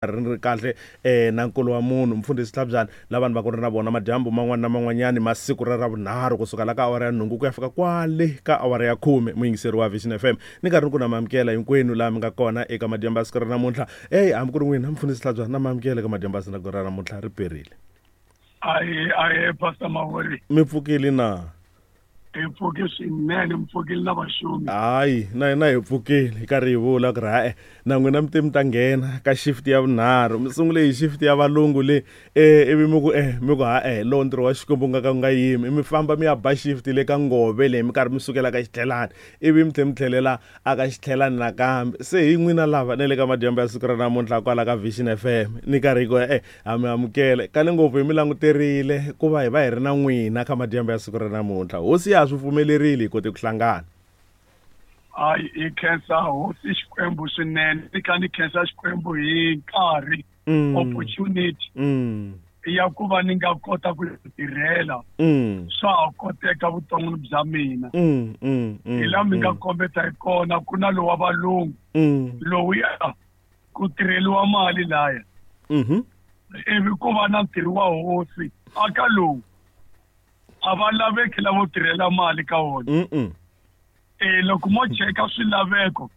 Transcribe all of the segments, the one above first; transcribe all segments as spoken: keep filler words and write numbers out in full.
Ri kahle eh na nkulu wa munhu mfundhisi Tlhabyana la vanhu va ku ri na vona madyambu man'wana na man'wanyani masiku ra ravunharhu kusuka la ka awara ya nhungu ku ya fika kwale ka awara ya khume. Muyingiseri wa Vision F M ni karhi ni ku na mamukela hinkwenu laha mi nga kona eka madyambu ya siku ra namuntlha. Ey hambi ku ri n'wina mfundhisi Tlhabyana na mamukela eka madyambu ya siku ra namuntlha ri perile. Aye aye Pastor Mawori, mi pfukile na? Hi pfuke swinene, mi pfukile na vaxumi. Hayi na hina hi pfukile hi karhi hi vula ku ri hayi na n'wina mi te mi ta nghena ka shift ya vunharhu, mi sungule hi shift ya valungu le eh ivi mi ku eh mi ku ha-e lowu ntirho wa Xikwembu wu nga ka wu nga yimi, mi famba mi ya ba shift le ka ngove leyi mi karhi mi sukela ka xitlhelani ivi mi tlhe mi tlhelela aka xitlhelani nakambe. Se hi n'wina lava na le ka madyambu ya siku ra namuntlha kwala ka Vision F M ni karhi hi ku eh ha mi amukele kale ngopfu hi mi languterile ku va hi va hi ri na n'wina ka madyambu ya siku ra namuntlha. Hosi ya swi pfumelerile hi kote ku hlangana. Hayi hi khensa hosi Xikwembu swinene, ni kha ni khensa Xikwembu hi nkarhi opportunity ya ku va ni nga kota ku tirhela swa ha koteka vuton'wini bya mina. Hi laha mi nga kombeta hi kona ku na lowa valungu lowuya ku tirheliwa mali laya ivi ku va na ntirho wa hosi aka lowu a va laveki lavo tirhela mali ka wona. E loko mo cheka swilaveko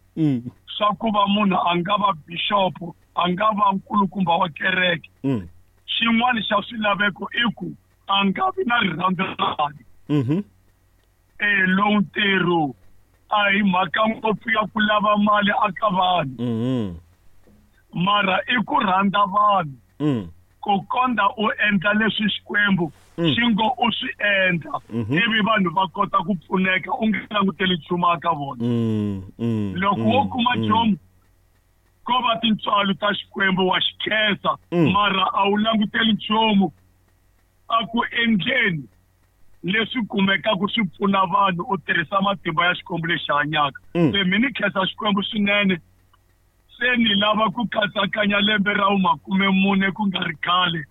swa ku va munhu a nga va bishop, a nga va nkulukumba wa kereke, xin'wana xa swilaveko i ku a nga vi na rirhandzu ra mali. E lowu ntirho a hi mhaka ngopfu ya ku lava mali aka vanhu, mara i ku rhandza vanhu ku konda u endla leswi Xikwembu xi ngo u swi endla ivi vanhu va kota ku pfuneka u nga languteli nchumu aka vona. Loko wo kuma nchumu ko va tintswalo ta Xikwembu wa xi khensa, mara a wu languteli nchumu a ku endleni leswi kumekaka swi pfuna vanhu u tirhisa matimba ya Xikwembu lexi hanyaka. Se mi ni khensa Xikwembu swinene. Se ni lava ku katsakanya lembe ra makume mune ku nga ri khale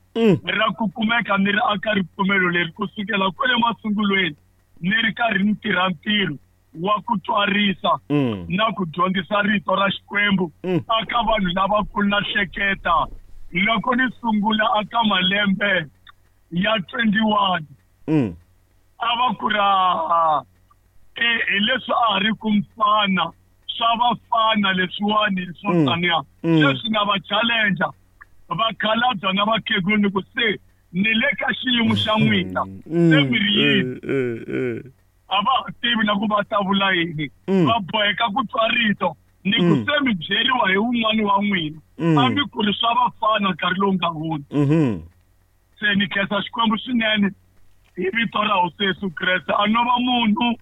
ra ku kumeka ni ri aka ripfumelo leri kusukela kwale masungulweni ni ri karhi ni tirha ntirho wa ku twarisa na ku dyondzisa rito ra Xikwembu aka vanhu lavakulu na hleketa. Loko ni sungula aka malembe ya twenty-one a va ku ra e hi leswi a ha ri ku mfana swa vafana leswiwani swo taniya sweswi na va challenger vakhalabya na vakhegula ni ku se ni le ka xiyimo xa n'wina se mi ri yini, a va ha tivi na ku va ta vula yini, va boheka ku twa rito ni ku se mi byeriwa hi wun'wani wa n'wina a mi ku ri swa vafana nkarhi lowu nga hundza. Se ni khensa Xikwembu swinene hi vito ra Hosi Yesu Kreste. A no va munhu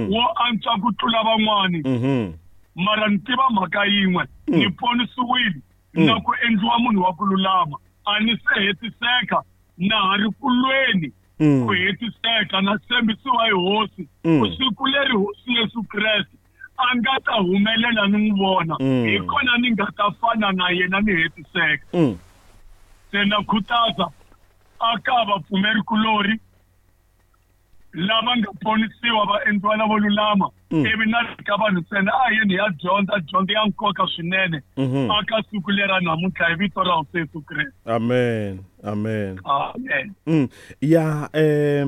wo antswa ku tlula van'wani, mara ni tiva mhaka yin'we, ni ponisiwile na ku endliwa munhu wa ku lulama. A ni se hetiseka na ha ri kulweni ku hetiseka na tshembisiwa hi Hosi ku siku leri Hosi Yesu Kreste a nga ta humelela ni n'wi vona hi kona ni nga ta fana na yena ni hetiseka. Se na khutaza aka vapfumerikulori lava nga ponisiwa va endliwa lavo lulama ivi na ka vanhu ntsena a yini ya dyondza dyondzo ya nkoka swinene aka siku lera namuntlha hi vito ra Hosi Yesu Kreste. Amen, amen, amen. Ya eh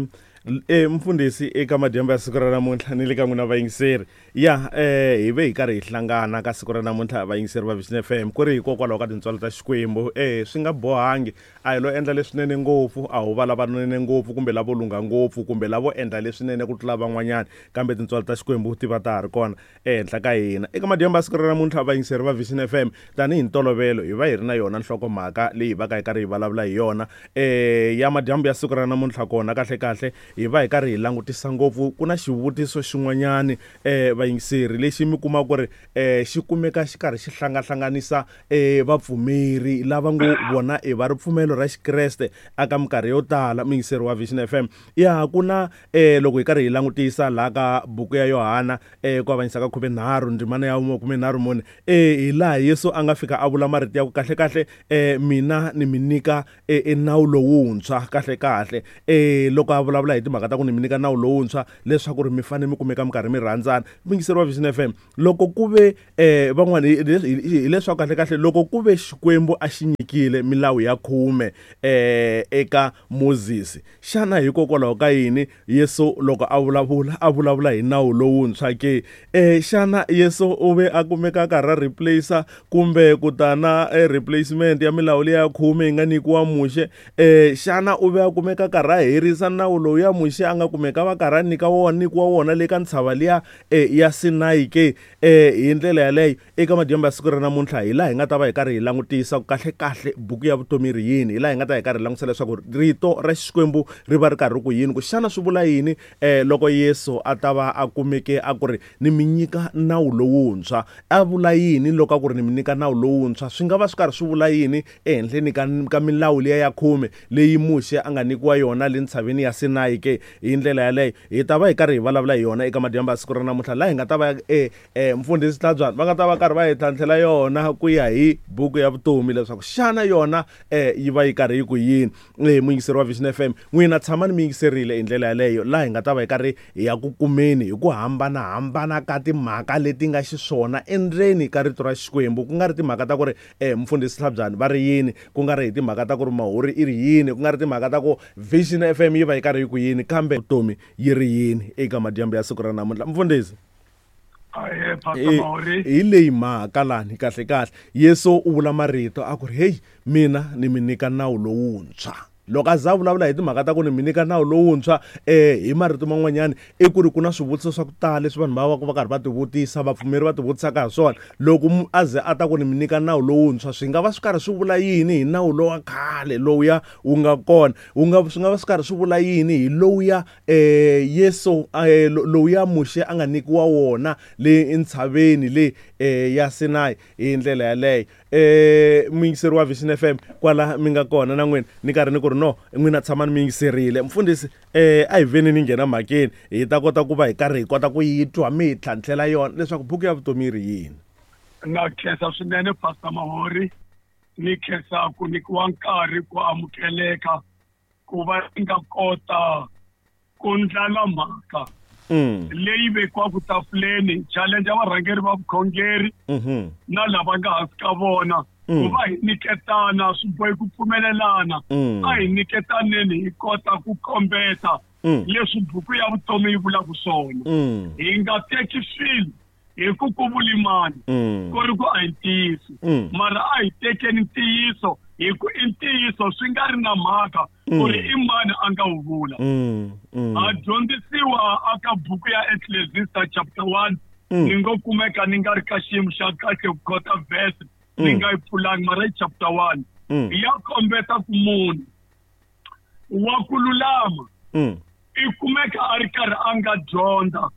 eh mfundhisi eka madyambu ya siku ra namuntlha ni le ka n'wina vayingiseri ya eh hi ve hi karhi hi hlangana ka siku ra namuntlha vayingiseri va Vision F M ku ri hikokwalaho ka tintswalo ta Xikwembu. Eh swi nga bohangi a hi lo endla leswinene ngopfu, a ho va lavanene ngopfu kumbe lavo lungha ngopfu kumbe lavo endla leswinene ku tlula van'wanyana, kambe tintswalo ta Xikwembu ti va ta ha ri kona ehenhla ka hina. Eka madyambu ya siku ra namuntlha vayingiseri va Vision F M tanihi ntolovelo hi va hi ri na yona nhlokomhaka leyi hi va ka hi karhi hi vulavula hi yona eh ya madyambu ya siku ra namuntlha. Kona kahle kahle hi va hi karhi hi langutisa ngopfu ku na xivutiso xin'wanyani eh vayingiseri lexi mi kuma ku ri eh xi kumeka xi karhi xi hlangahlanganisa eh vapfumeri lava ngo vona e va ripfumelo ra Xikreste aka minkarhi yo tala. Muyingiseri wa Vision F M ya ku na eh loko hi karhi hi langutisa laha ka buku ya Yohana eh ku avanyisa ka khume nharhu ndzimana ya khume nharhu mune eh hi laha Yesu a nga fika a vula marito ya ku kahle kahle eh mina ni mi nyika e nawu lowuntshwa kahle kahle eh loko a vulavula hi timhaka ta ku ni mi nyika nawu lowuntshwa leswaku ri mi fanele mi kumeka mi karhi mi rhandzana. muyingiseri wa Vision F M loko ku ve eh van'wana hileswaku kahle kahle loko ku ve Xikwembu a xi nyikile milawu ya khume eh eka Moses, xana hikokwalaho ka yini Yesu loko a vulavula a vulavula hi nawu lowuntshwa ke? Eh xana Yesu u ve a kumeka a karhi a replace kumbe ku ta na replacement ya milawu liya ya khume yi nga nyikiwa Muxe? Eh xana u ve a kumeka karhi a herisa nawu lowu ya Muxe a nga kumeka va karhi a nyika wona nyikiwa wona le ka ntshava liya ya Sinai ke? Eh hi ndlela yaleyo eka madyambu ya siku ra namuntlha hi laha hi nga ta va hi karhi hi langutisa kahle kahle buku ya vutomi ri yini, hi laha hi nga ta hi karhi hi langutisa leswaku rito ra Xikwembu ri va ri karhi ku yini, ku xana swi vula yini eh loko Yesu a ta va a kumeke a ku ri ni mi nyika nawu lowuntshwa. A vula yini loko a ku ri ni mi nyika nawu lowuntshwa? Swi nga va swi karhi swi vula yini ehenhleni ka ka milawu liya ya khume leyi Muxe a nga nyikiwa yona le ntshaveni ya Sinai ke? Hi ndlela yaleyo hi ta va hi karhi hi vulavula hi yona eka madyambu ya siku ra namuntlha, laha hi nga ta va eh eh mfundhisi Tlhabyana va nga ta va karhi va hi tlhantlhela yona ku ya hi buku ya vutomi leswaku xana yona eh yi va yi karhi yi ku yini. Eh muyingiseri wa Vision F M, n'wina tshamani mi yingiserile hi ndlela yaleyo, laha hi nga ta va hi karhi hi ya ku kumeni hi ku hambanahambana ka timhaka leti nga xiswona endzeni ka rito ra Xikwembu, ku nga ri timhaka ta ku ri eh mfundhisi Tlhabyana va ri yini, ku nga ri hi timhaka ta ku ri Mahuri i ri yini, ku nga ri timhaka ta ku Vision F M yi va yi karhi yi ku yini, kambe vutomi yi ri yini eka madyambu ya siku ra namuntlha. Mfundhisi, hi leyi mhaka lani kahle kahle Yesu u vula marito a ku ri hey, mina ni mi nyika nawu lowuntshwa. Loko a za vulavula hi timhaka ta ku ni mi nyika nawu lowuntshwa eh hi marito man'wanyana i ku ri ku na swivutiso swa ku tala leswi vanhu va va va karhi va tivutisa, vapfumeri va tivutisaka ha swona. Loko a ze a ta ku ni mi nyika nawu lowuntshwa, swi nga va swi karhi swi vula yini hi nawu lowa khale lowuya wu nga kona? Wu nga swi nga va swi karhi swi vula yini hi lowuya eh Yesu lowuya Muxe a nga nyikiwa wona le entshaveni le ya Sinai? Hi ndlela yaleyo eh muyingiseri wa Vision F M kwala mi nga kona na n'wina ni karhi ni ku ri no n'wina tshamani mi yingiserile. Mfundhisi eh a hi veni ni nghena mhakeni hi ta kota ku va hi karhi hi kota ku yi twa mi hi tlhantlhela yona leswaku buku ya vutomi yi ri yini. Na khensa swinene Pastor Mahori, ni khensa ku nyikiwa nkarhi ku amukeleka ku va ni nga kota ku ndlala mhaka leyi vekiwaka tafuleni, challenge ya varhangeri va vukhongeri na lava nga hansi ka vona ku va hi nyiketana, swi bohi ku pfumelelana, a hi nyiketaneni hi kota ku kombeta leswi buku ya vutomi yi vulaka swona. Hi nga teki swilo hi ku ku vulimani ku ri ku a hi ntiyiso, mara a hi tekeni ntiyiso hi ku i ntiyiso swi nga ri na mhaka ku ri i mani a nga wu vula. A dyondzisiwa aka buku ya Ecclesiastes chapter one, ni ngo kumeka ni nga ri ka xiyimo xa kahle ku kota verse ni nga yi pfulangi, mara i chapter one ya kombeta ku munhu wa ku lulama i kumeka a ri karhi a nga dyondza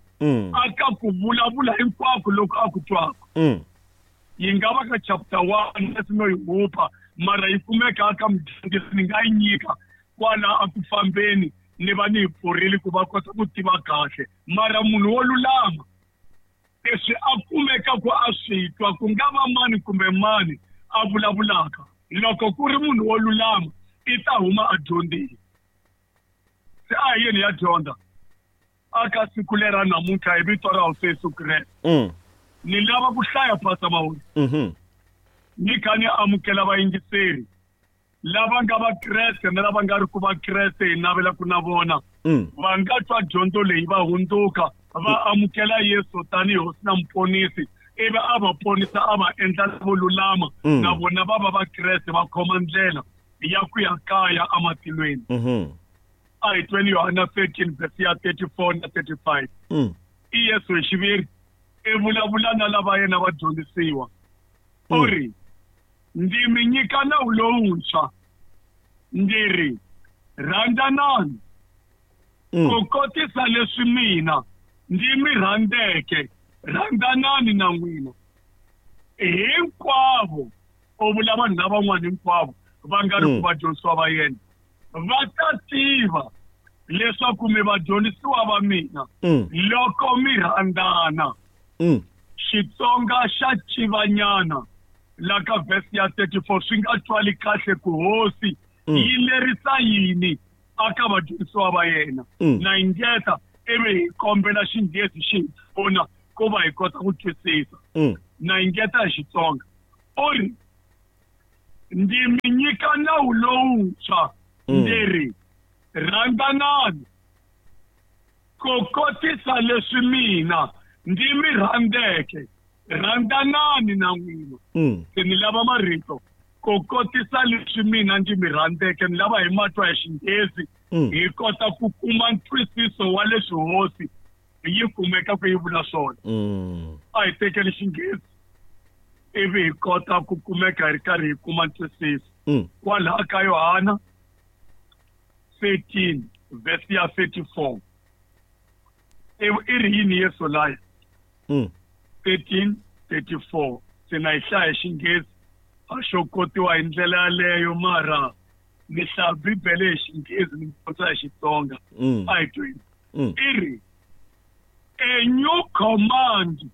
aka ku vulavula hinkwako loko a ku twaka. Yi nga va ka chapter one leswi no yi hupa, mara yi kumeka aka mudyondzisi ni nga yi nyika kwala a ku fambeni ni va ni yi pfurile ku va kota ku tiva kahle. Mara munhu wo lulama leswi a kumeka ku a swi twa, ku nga va mani kumbe mani a vulavulaka, loko ku ri munhu wo lulama i ta huma a dyondzile. Se a hi yeni ya dyondza aka siku lera namuntlha hi vito ra Hosi Yesu Kreste. Ni lava ku hlaya Pastor Mahori, ni kha ni amukela vayingiseri lava nga Vakreste na lava nga ri ku Vakreste, hi navela ku na vona va nga twa dyondzo leyi va hundzuka va amukela Yesu tanihi Hosi na Muponisi, ivi a va ponisa a va endla vo lulama, na vona va va Vakreste va khoma ndlela ya ku ya kaya ematilweni. A hi tweni Yohana thirteen verse ya thirty-four na thirty-five. I Yesu hi xiviri i vulavula na lava yena va dyondzisiwa, u ri ndzi mi nyika nawu lowuntshwa, ndzi ri rhandzanani ku kotisa leswi mina ndzi mi rhandzeke, rhandzanani na n'wina hinkwavo. U vula vanhu lavan'wana hinkwavo va nga ri ku vadyondzisiwa va yena va ta tiva leswaku mi vadyondzisiwa va mina loko mi rhandzana. Xitsonga xa civanyana la ka verse ya thirty-four swi nga twali kahle ku Hosi yi lerisa yini aka vadyondzisiwa va yena. Na ingeta ivi hi kombela Xinghezi xi hi pfuna Ku va hi kota ku twisisa. Mm. Na engeta hi Xitsonga. U ri ndzi mi nyika nawu lowuntshwa ndzi ri rhandzanani ku kotisa leswi mina ndzi mi rhandzeke rhandzanani na n'wina. Mm. Se ni lava marito ku kotisa leswi mina ndzi mi rhandzeke ni lava hi matwa ya Xinghezi Mm. hi kota ku kuma ntwisiso wa leswi hosi yi kumeka ku yi vula swona. Mm. A hi tekeli Xinghezi ivi hi kota ku kumeka hi ri karhi hi kuma ntwisiso. Mm. Kwalaha ka Yohana thirteen verse ya thirty-four. I i ri yini Yesu laya? Mm. thirteen thirty-four. Se na hi hlaya hi Xinghezi a xo kotiwa hi ndlela yaleyo mara ni hlaya Bibele hi Xinghezi ni kota hi Xitsonga. Mm. A hi tweni. Mm. I ri a new command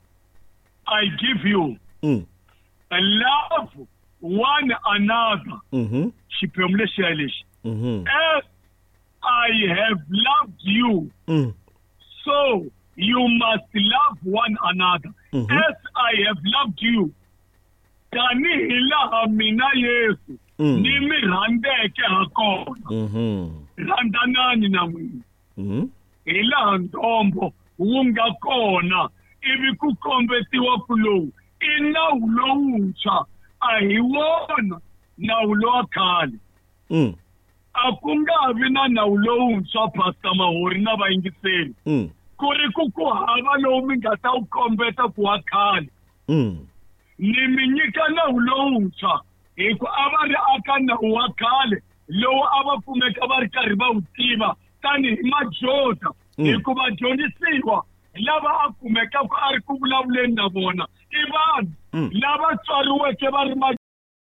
I give you. Mm. Love one another. Mhm. Xiphemu lexiya lexi. Mhm. As I have loved you, Mm. so you must love one another. Mhm. As I have loved you, tanihi laha mina Yesu Mm. ni mi rhandzeke ha kona. Mhm. Rhandzanani na n'wina. Mhm. Hi laha ntombo wu nga kona ivi ku kombetiwa ku lowu i nawu lowuntshwa a hi wona nawu lowa khale. Mm. A ku nga vi na nawu lowuntshwa Pastor Mahori na vayingiseri. Mm. Ku ri ku ku hava lowu mi nga ta wu kombeta ku wa khale. Mm. Ni mi nyika nawu lowuntshwa hi ku a va ri aka nawu wa khale lowu a va kumeka va ri karhi va wu tiva tanihi majoda. Mm. Hikuva dyondzisiwa lava a kumekaka a ri ku vulavuleni na vona i vanhu Mm. lava tswariweke va ri majoda.